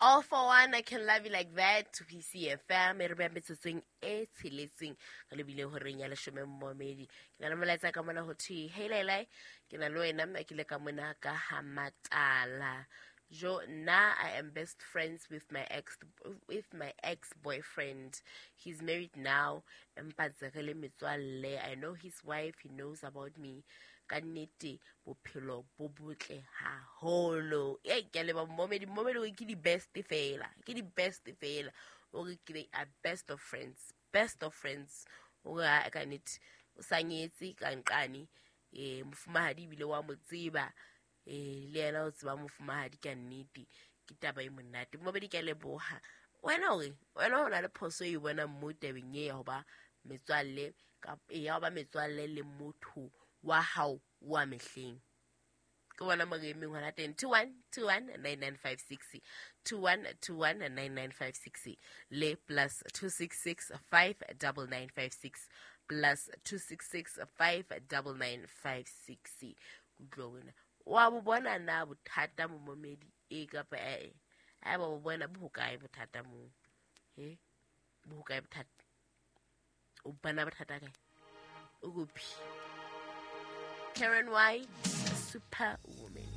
All for one, I can love you like that. To PCFM, e re beha metsotsong e tsheletseng re lebile horeng ya leshome mmomedi. Ke na le molaetsa ka mona ho thwe, hey Lailai, ke na le wena mme ke le ka mona ka ha Matala. Jo, nna I am best friends with my ex boyfriend. He's married now. Empa ntse re le metswalle. I know his wife, he knows about me. Ka nnete bophelo bo botle haholo. Ei, ke a leba mmomedi, mmomedi o ke di best fela. Ke di best fela. O re ke they are best of friends. Best of friends. O re ha ka nnete o sa nyetse ka nqane mofumahadi ebile wa mo tseba, le yena o tseba mofumahadi. Ka nnete ke taba e monate, mmomedi, ke a leboha. Wena ore wena o na le phoso e bonang mo tabeng e ya ho ba metswalle ya ho ba metswalle le motho wa hao wa mehleng? Ke bona mo re emeng hona teng. 21 21 9956, 21 21 9956 le +266 5 9956, +266 5 9956. Kutlwa wena wa bo bona na bothata, momomedi, e kapa ee? Haeba bo bona, bo hokae bothata moo? He, bo hokae bothata? O bona bothata kae? O kophi Karen Y, Superwoman.